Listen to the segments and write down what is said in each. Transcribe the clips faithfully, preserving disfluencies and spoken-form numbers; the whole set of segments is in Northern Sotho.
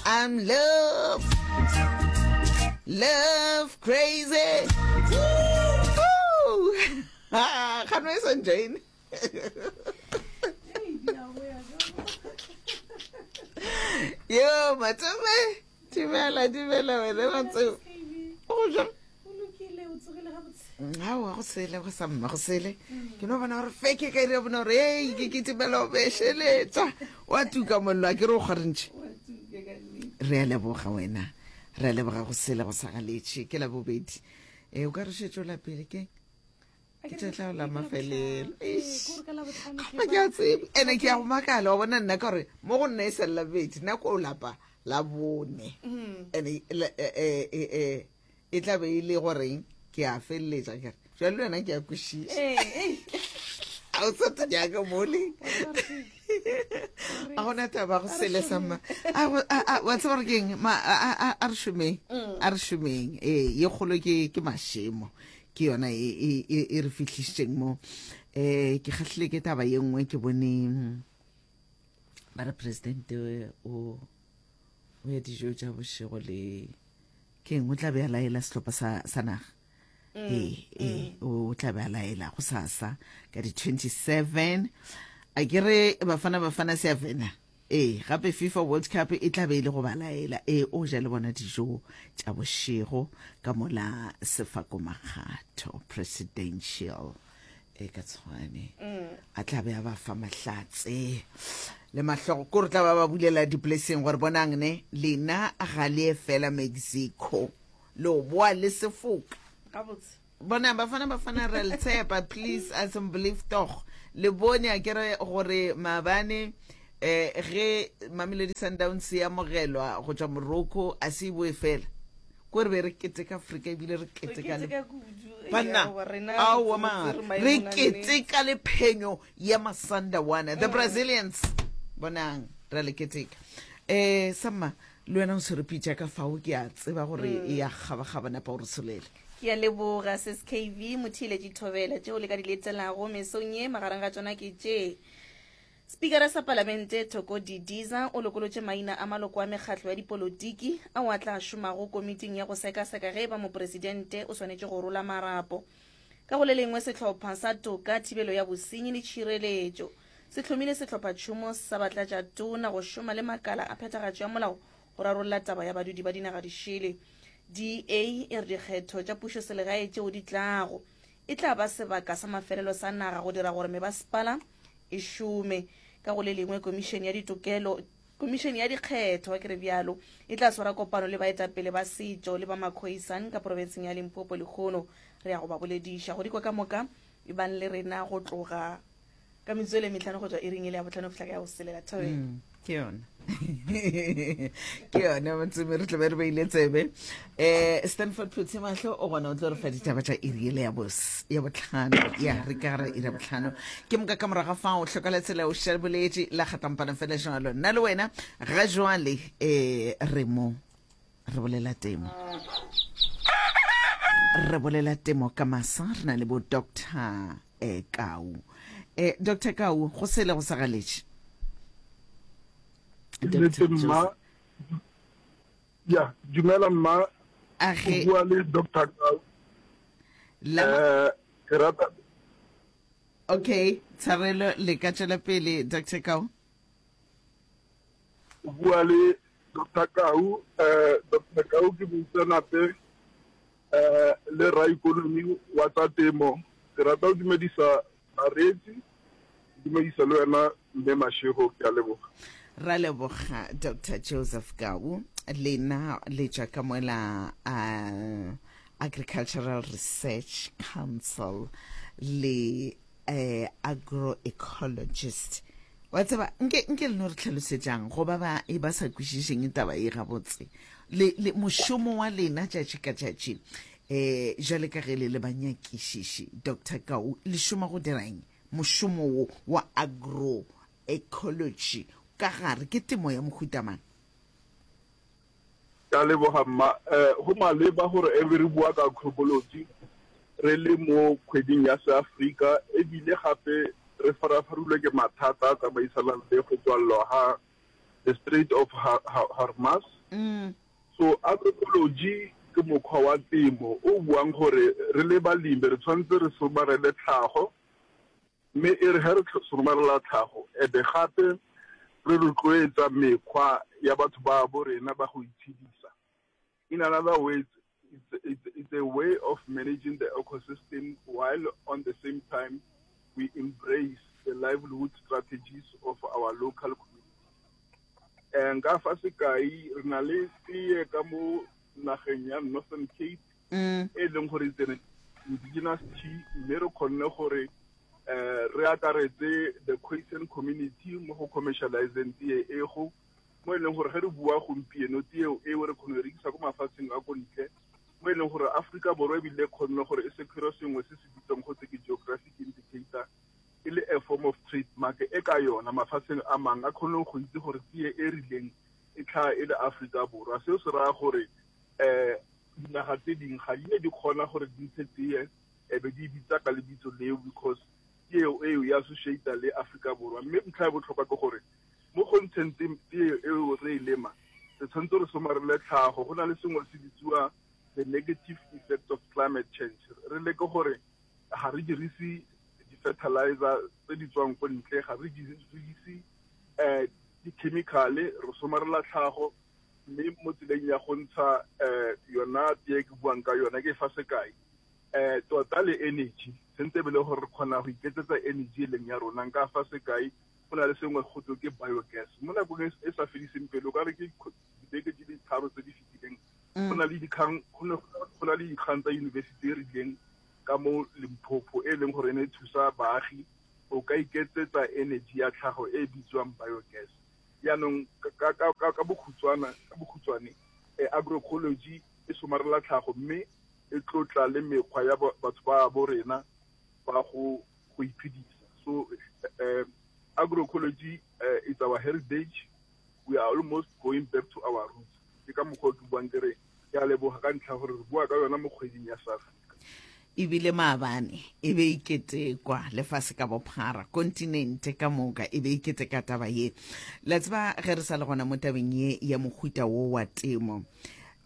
I'm love love crazy. Woo! Ah, gano e sa join. Yo, Matome, dumela, dumela wena Matome. O jang? Aowa, go sele, go sa mma, go sele. Ke no bona gore feke ka ire bona gore ei, ke kitimela o bešeletša. Wa tuka mollo, a ke re o kgwarentšhe. Re a leboga wena. Re a leboga go sele go sa galetše. Ke la bobedi. E, o ka re šetše o lapile ke? Ke tša tla la mafelelo. Eish. Ga ke a tsebe. Ene ke ya go makala, wa bona nna ka gore mo go nna e sa le la bobedi, nna ko o lapa la bone. Ene e, e, e, e, e tla be e le goreng ke a feleletša kere jale le wena ke a kwešiša a o sa jaaka mole a gona taba go sele sa mma wa tseba gore keng a re šomeng a re šomeng ee ye kgolo ke ke mašemo ke yona e, e, e, e re fihlišitšeng mo um ke kgahlile ke taba ye nngwe ke bone ba re presidente o o ya dijo tša bošego le keng o tla be a laela sehlopha sa, sa naga mm, ee ee mm. o tla be a laela go sasa ka di twenty-seven a ke re Bafana Bafana se a fena. Ee, gape FIFA World Cup e tla be e le go ba laela. Ee, o ja le bona dijo tša bošego ka mola Sefako Makgatho Presidential e ka Tshwane a tla be a ba fa mahlatse le mahlogo ko re tla ba ba bulela di-blessing gore bonang ne lena ga le fela Mexico le o boa le sefoka. Gabotse. Bona Bafana Bafana re le tshepa, please, asseblief tog. Le bone a kere gore maabane eh ge Mamelodi Sundowns e amogelwa go tšwa Morocco, a se e boe fela ko re be re keteka Afrika ebile re keteka le keteka kudu. Banna. Aowa, rena aowa re mara tsere maemong re a nnete. Keteka le phenyo ya Masandawana, the Brazilians. Bonang ra le keteka. um samma le wena o tshwere pitša ka fao, ke a tseba gore e ya kgabakgaba, napa o re tsholele. Ke a leboga, sis K V. Motheeletši thobela, tšeo le ka di letelago mesong ye magareng ga tšona ke tše: Spikara sa Palamente Thoko Didiza o lokolotše maina a maloko a mekgatlo ya dipolotiki ao a tla šomago komiting ya go sekaseka ge e ba mopresidente o swanetše go rola marapo. Ka go le lengwe, sehlopha sa toka, thibelo ya bosenyi le tšhireletšo se hlomile sehlophatšhomo sa batlatšatona go šoma le makala a phethagatšo ya molao go rarolla taba ya badudi ba dinaga dišele. D A e re dikgetho tša pušo selegae tšeo di tlago e tla ba sebaka sa mafelelo sa naga go dira gore mebasepala e šome. Ka go le lengwe, komišene ya ditokelo komišene ya dikgetho ke re bjalo e tla swara kopano le baetapele ba setšo le ba Makhoisan ka profenseng ya Limpopo lekgono. Re ya go ba bolediša go dikwa ka moka. E bang le rena go tloga ka metsotso e le metlhano go tswa iring e le ya botlhano go fihla ka ya go selela. Thobela. Mm, ke yona ke yona Motsome, re tlabe re beile tsebe. um Stanford Phuthe Mahlo o gona, o tlo re fa ditaba tša iri ele ya bos- ya botlhano, ya re ka gara iri ya botlhano. Ke moka ka moraga fao tlhokala tsela o šaboletše la kgatampana fela jalo. Nna le wena ga jwale um re mo re bolela temo, re bolela temo ka masa. Re na le bo Doctor eh, Kau. eh, Doctor Kau, go sele go sa galetše. Nnete. Doctor Mma. Joseph. Ya, dumela mma. A O ge bua le Doctor Kau. La eh ke rata Okay, tshwarelo, le ka tšwela pele, Doctor Kau. O bua le Doctor Kau. eh Doctor Kau ke moitseanape eh le raikonomi wa tsa temo. Ke rata go dumedisa bareetsi, ke dumedisa le wena mme Mashego. Ke a leboga. Ra leboga, Doctor Joseph Kau. Lena le tšwa ka mola uh, Agricultural Research Council le eh, agroecologist. Wa tseba nke nke le no re tlhalosetšang go ba ba e ba sa kwešišeng taba e gabotse le, le mošomo wa lena tšatši ka tšatši eh jale ka ge le le banyakišiši. Doctor Kau, le šoma go dirang? Mošomo wo wa agroecology ka gare ke temo ya mohutamang? Ka leboga mma. eh go maleba gore e be re bua ka agroecology re le mo kgweding ya Seafrika, ebile gape re farafarilwe ke mathata a tsamaisanang le go tswalelwa ga the Strait of Hormuz. Mm. So agroecology ke mokgwa wa temo o buang gore re le balemi re tshwanetse re somarele tlhago, mme e re ge re somarela tlhago e be gape re rotloetsa mekgwa ya batho ba bo rena ba go itshedisa. In another words, it's, it's, it's a way of managing the ecosystem while on the same time we embrace the livelihood strategies of our local community. Nka fa sekai, re na le tee ka mo nageng ya Northern Cape Mm. e leng gore it's an indigenous tea, mme re kgonne gore eh re akaretse the Khoisan community mo go commercializing tee e go mo e leng gore ge re bua gompieno tee eo re kgone go rekisa ko mafatsheng a ko ntle, mo e leng gore Afrika Borwa ebile kgonne gore e secure sengwe se se bitswang go ke geographic indicator e le a form of trademark e ka yona mafatsheng a mangwe a kgone go itse gore tee e rileng e tlhaga e le Afrika Borwa. Seo se raya gore um dinaga tse dingwe ga di ne di kgona gore di ntshe tee e be di bitsa ka lebitso leo because tee eo e associata le Afrika Borwa. Mme ntlha ya botlhokwa ke gore mo go ntsheng tee eo re e lema re tshwanetse re somarele tlhago. Go na le sengwe se bitsiwa the negative effect of climate change. Re leke gore ga re dirise di-fertilizer tse di tswang ko ntle, ga re dirise um di-chemical-e, re somarela tlhago. Mme mo tseleng ya go ntsha um yona tee ke buang ka yona ke fa sekai, um tota le energy sentse e be le gore re kgona go iketsetsa energy e leng ya rona. Nka fa sekai, go na le sengwe go twe ke biogas. Mo nakong e sa fediseng pelo, ka re ke dibeke di le tharo tse di fetileng, go na le dikgang go na le dikgang tsa university e rileng ka mo Limpopo e leng gore e ne e thusa baagi o ka iketsetsa energy ya tlhago e bitswang biogas. Jaanong ka ka bokhutshwana ka bokhutshwane agroecology e somarela tlhago mme e tlotla le mekgwa ya batho ba bo rena ba go go iphedisa. So uh, agroecology uh, is our heritage. We are almost going back to our roots. Ke ka mokgwa o ke buang ke re ke a leboga ka ntlha gore re bua ka yona mo kgweding ya South Africa. Ebile maabane e be e ketekwa lefase ka bophara, kontinente ka moka e be e keteka taba ye. La tseba ge re sa le gona mo tabeng ye ya mohuta wo wa temo,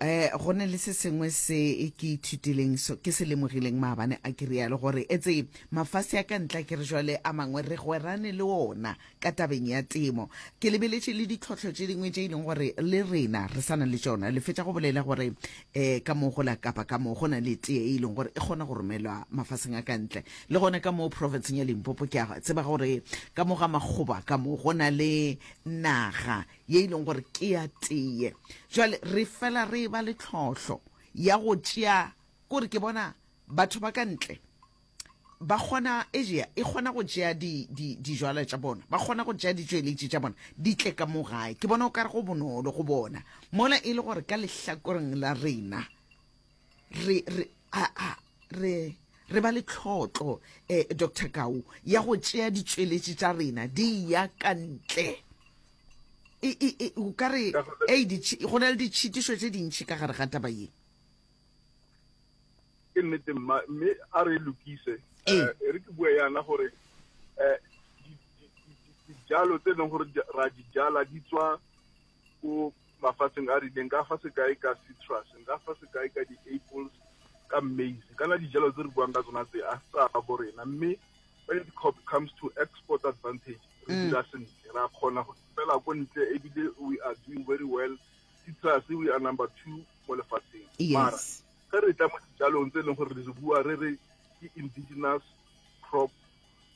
eh go ne le se sengwe se ke ithutileng so ke se lemogileng maabane a ke rialo gore etse mafase a ka ntla ke re jwale a mangwe re gwerane le ona ka tabeng ya temo. Ke lebeletše le ditlhohlo tše dingwe tše e leng gore le rena re sana le tšona. Le fetša go bolela gore eh ka mo go la Kapa ka mo go na le tee e leng gore e kgona go romelwa mafaseng a ka ntle, le gona ka mo provinceng ya Limpopo ke a tseba gore ka mo ga Makgoba ka mo go na le naga ye e leng gore ke ya tee. Jwale re fela re ba le tlhohlo ya go tšea kore ke bona batho ba ka ntle ba kgona Asia e kgona go tšea di di dijwalo tša bona, ba kgona go tšea ditšweletši tša bona di tle ka mo gae. Ke bona o ka re go bonolo go bona mola e le gore ka lehlakoreng la rena re re a a re re ba le tlhotlo eh Doctor Kau ya go tšea ditšweletši tša rena di ya ka ntle. E e e o ka re ei go na le ditšhitišo tše dintši ka gare ga taba ye. Ke nnete mma, mme a re lokise. E re ke bua yana gore eh dijalo tse leng gore ra di jala di tswa ko mafatsheng a rileng, ka fa sekai ka citrus, nka fa sekai ka di-apples, ka maize, kana dijalo tse re buang ka tsona tse a tsa bo rena. Mme when it comes to export advantage, re dira sentle, ra kgona go fela ko ntle ebile we are doing very well. Citrus we are number two mo lefatsheng. Mara ge re tla mo dijalong tse leng gore re bua re re ke indigenous crop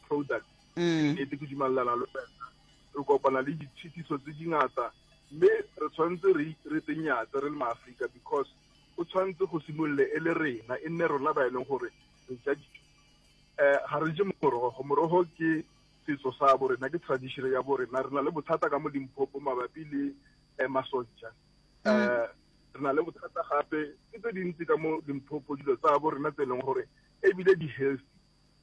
product, nnete ke dumelelana le wena, re kopana le ditshitiso tse dingata mme re tshwanetse re re tsenyatse re le maAfrika because o tshwanetse go simolole e le rena, e nne rona ba e leng gore re ja dijo. Eh ga re je morogo, morogo ke setso sa bo rena, ke tradition ya bo rena. Re na le bothata ka mo Limpopo mabapi le eh, masonja. Eh re na le bothata gape ke tse dintsi ka mo Limpopo, dilo tsa bo rena tse e leng gore ebile di healthy.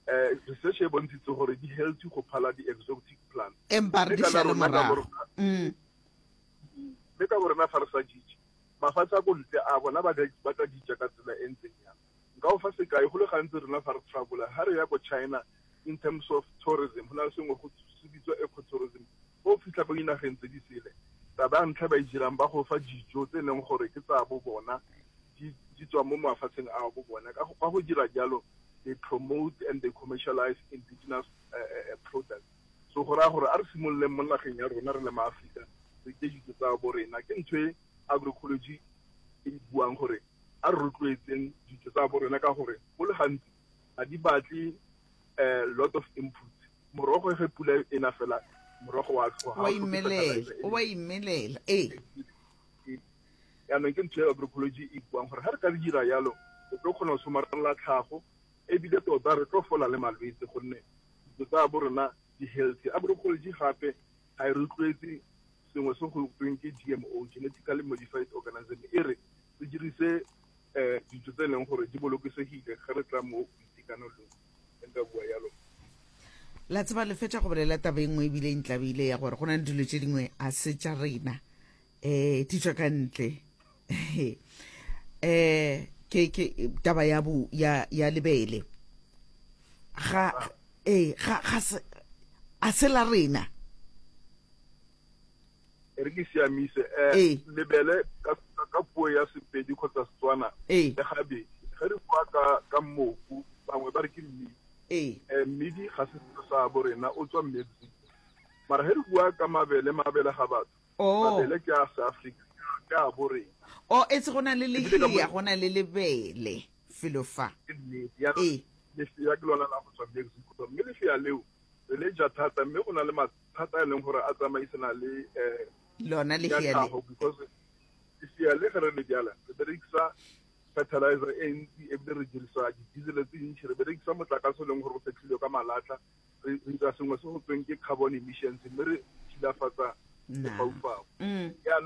Eh research e bontshitse gore di healthy go phala di exotic plants. Empa re di šale morago. Mme ka bo rena fa re sa jije, mafatshe a ko ntle a bona ba tla dija ka tsela e ntseng yang. Nka o fa sekai, go le gantsi rena fa re travel-a ha re ya ko China in terms of tourism, go na le sengwe go se bitswa ecotourism. Go fitlha ko dinageng tse di sele, Taba ya ntlha ba e dirang, ba go fa dijo tse e leng gore ke tsa bo bona, di di tswa mo mafatsheng a bo bona. Ka go ka go dira jalo, they promote and they commercialize indigenous uh, uh, products. So go raya gore a re simololeng mo nageng ya rona re le maAforika, re je dijo tsa bo rena. Ke ntho e agroecology e buang gore a re rotloetseng dijo tsa bo rena, ka gore go le gantsi ga di batle a lot of input. Morogo ge pula e na fela, morogo wa tlhoga. Wa imelela, wa imelela, ee. Yaanong ke ntho e agroecology e buang gore ga re ka re dira yalo, re tlo kgona go somarela tlhago, ebile tota re tlo fola le malwetse, gonne dijo tsa bo rena di healthy. Agroecology gape ga e rotloetse sengwe se go tweng ke G M O, genetically modified organism. E re re dirise um dijo tse e leng gore di bolokesegile ge re tla mo boitekanelong, nka bua yalo. La tseba, le fetša go bolela taba e nngwe ebile e ntlabile ya gore go na le dilo tše dingwe a se tša rena, um di tswa ka ntle. um ke ke taba ya bo ya ya lebele, ga ee, ga ga se a se la rena. E re ke siamise um Ee. lebele ka ka puo ya Sepedi kgotsa Setswana ee le gabedi. Ge re bua ka ka mmoku, bangwe ba re ke mmidi. Ee um mmidi ga se selo sa bo rena, o tswa Mexico. Mara ge re bua ka mabele, mabele ga batho, oh mabele ke a Seafrika, ke a bo rena. O etse go na le Ebile ka mo- lehea, go na le lebele felo fa. Ke nnete ya Ee. lefea ke lona la go tswa Mexico, mme lefea leo re le ja thata, mme go na le mathata a e leng gore a tsamaisana le um lona ya lehea le. Tlhago, because lefea le ge re le bjala, re berekisa fertilizer e ntsi, ebile re dirisa di-diesel tse ntši, re berekisa motlakase o leng gore o fetlhilwe ka malatlha, re re dira sengwe se go tweng ke carbon emissions, mme re thilafatsa Na. lefaufau. Mm. Jaanong